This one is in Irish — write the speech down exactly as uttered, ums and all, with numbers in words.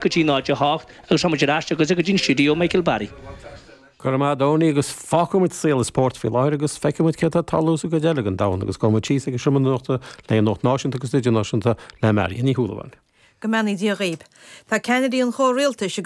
go dtí náid a hocht agus tá muid ar ais agus go dtí an stiúideo Michael Barry. Go raibh maith agat Donie agus fágfaimid saol an spóirt faoi láthair agus feicfimid céard atá ag tarlú sa gcuid eile den domhan agus gabhfaimid síos ag an seomra nuachta le nuacht náisiúnta agus idirnáisiúnta le Marion Ní Shúilleabháin. Go mbeannaí Dia dhaoibh. Tá ceannairí an chomhrialtais